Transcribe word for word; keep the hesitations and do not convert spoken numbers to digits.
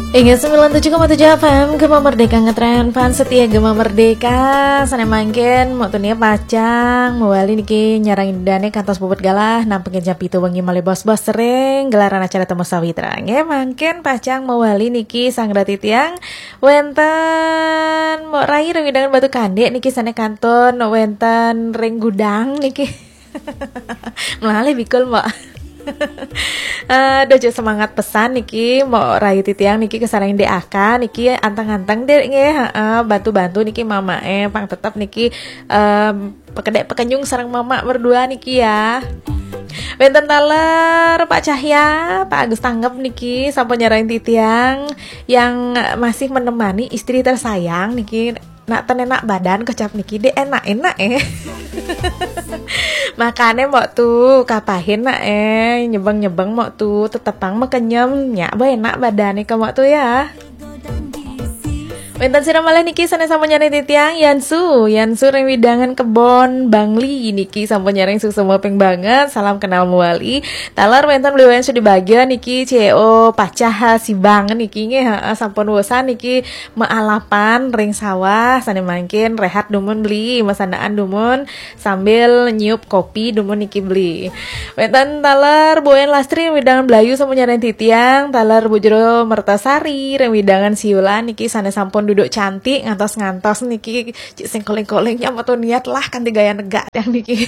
Inggih, sembilan tujuh koma tujuh F M Gema Merdeka, ngetren fans setia Gema Merdeka. Sané mangkin Mbok Tunia pacang mawali niki nyarengin Ida kantos puput galah nampi jam pitu wengi malih bos-bos ring gelaran acara Temu Sawitra. Nggih, mangkin pacang mawali niki sareng titiang wénten Mbok Rai ring wewidangan Batu Kandik niki, sané kantun wénten ring gudang niki. Melalih bikul, Mbok. Aduh, cek semangat pesan niki, Mbok Rai titiang niki, kasarengin Dek Aka niki, anteng-anteng, Dek, nggih, heeh, bantu-bantu niki mamaké, pang tetep niki, em, pekedek pekenyung sareng mama berdua niki ya. Wénten taler Pak Cahya, Pak Agus Tanggep niki sampun nyarengin titiang yang masih menemani istri tersayang niki. Nak ten enak badan kocap niki, Dek, enak-enak, eh. Makané Mbok Tu, kapahin nak, eh, nyebeng-nyebeng Mbok Tu, tetepang makenyem, nyak ba enak badané ka Mbok Tu ya. Wénten sira malih niki sané sampun nyarengin titiang, Yansu, Yansu ring wewidangan Kebon Bangli niki sampun nyarengin suksma banget, salam kenal mawali. Taler wénten Bli Wayan Sudi Bagja niki, C E O Pacah Sibang niki nggih, heeh, sampun wusan niki maalapan ring sawah, sané mangkin rehat dumun Bli, masandaan dumun sambil nyiup kopi dumun niki Bli. Wénten taler Bu Wayan Lastri wewidangan Blayu sampun nyarengin titiang, taler Bu Jero Mertasari ring wewidangan Siulan niki sané sampun duduk cantik ngantos-ngantos niki, cik sing koling-koling nyak Mbok Tu niat lah kanti gaya negak tiang niki.